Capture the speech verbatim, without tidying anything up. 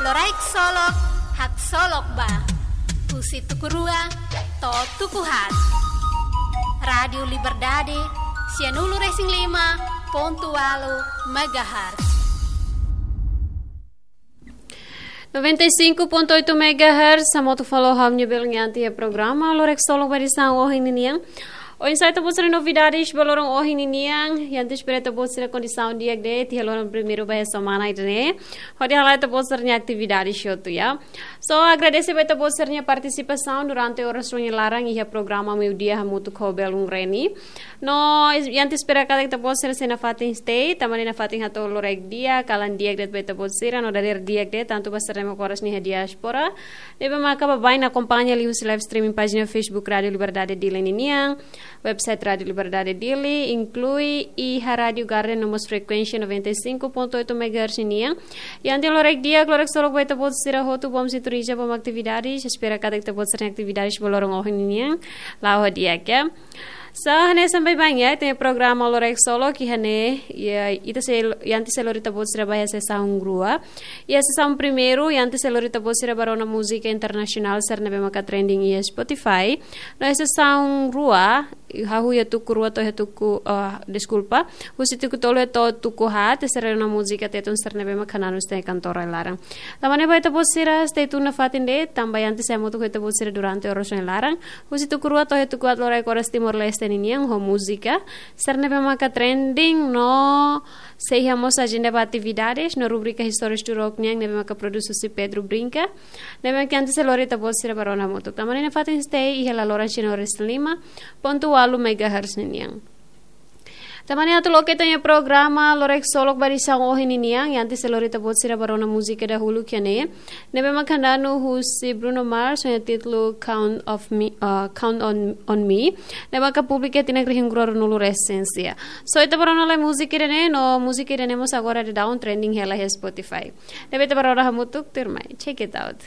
Loraik Solok, haksolok ba. Husi tuku rua to'o tuku haat. Rádiu Liberdade, sianulu-resin-lima pontu ualu megahertz. Noventa e cinco ponto oito megahertz, hamutuk fali ho ha'u-nia belun iha programa Loraik Solok ba edisaun ohin ninian. Oinsá ita-boot sira-nia novidades ba loron ohin ninian, iha antes preta boot sira kondisaun di'ak de'it, iha loron primeiru ba iha semana ida-ne'e. Hodi hala'o ita-boot sira-nia atividades hotu, ya. So, agradese ba ita-boot sira-nia partisipasaun durante oras ohin nia laran iha programa Meiudia hamutuk ho belun Reni. No, iha antes espera katak ita-boot sira sei nafatin stay, tanba ne'e nafatin hato'o loraik di'ak, kalan di'ak de'it ba ita-boot sira, no dadeer di'ak de'it, tantu ba sira ne'ebé maka oras ne'e iha diáspora. Ne'ebé maka baibain akompaña liuhusi live streaming pájina Facebook Rádiu Liberdade Dili ninian, website Rádiu Liberdade Dili, inklui iha Rádiu Garden no mós frekuénsia noventa e cinco ponto oito megahertz ninian. Iha antes loraik di'ak, loraik solok ba ita-boot sira hotu, bom sintonia, bom atividades, espera katak ita-boot sira-nia atividades ba loron ohin ninian la'o ho di'ak, ya. So, hanesan baibain, ya, ita-nia programa Loraik Solok iha ne'e, ya, ita sei, iha antes sei lori ita-boot sira ba iha sesaun rua. Iha sesaun primeiru, iha antes sei lori ita-boot sira ba rona múzika internasionál sira ne'ebé maka trending iha Spotify. No iha sesaun rua, hahú iha tuku rua to'o iha tuku, ah, deskulpa, husi tuku tolu to'o tuku haat, ita sei rona múzika Tetun sira ne'ebé maka nanu ita-nia kantora laran. Tanba ne'e ba ita-boot sira stay tune nafatin de'it, tanba iha antes sei hamutuk ho ita-boot sira durante oras ohin nia laran. Husi tuku rua to'o iha tuku haat loraik oras Timor-Leste ninian ho múzika sira ne'ebé maka trending no sei iha mós ajenda ba atividades no rubrika Histórias do Rock nian ne'ebé maka produs husi Pedro Brinca. Ne'ebé maka iha antes sei lori ita-boot sira ba rona hamutuk. Tanba ne'e nafatin stay iha la loran sianulu-resin-lima pontu ualu megahertz ninian. Tanba ne'e atu loke ita-nia programa Loraik Solok ba edisaun ohin ninian, iha antes sei lori ita-boot sira ba rona múzika dahuluk iha ne'e. Ne'ebé maka nanu husi Bruno Mars, ho nia títulu Count of Me, ah, Count on, on Me. Ne'ebé maka publika iha tinan rihun rua ruanulu-resin-sia. So, ita ba rona lai múzika ida-ne'e, no múzika ida-ne'e mós agora daudaun trending hela iha Spotify. Ne'ebé ita ba rona hamutuk, tuirmai. Check it out.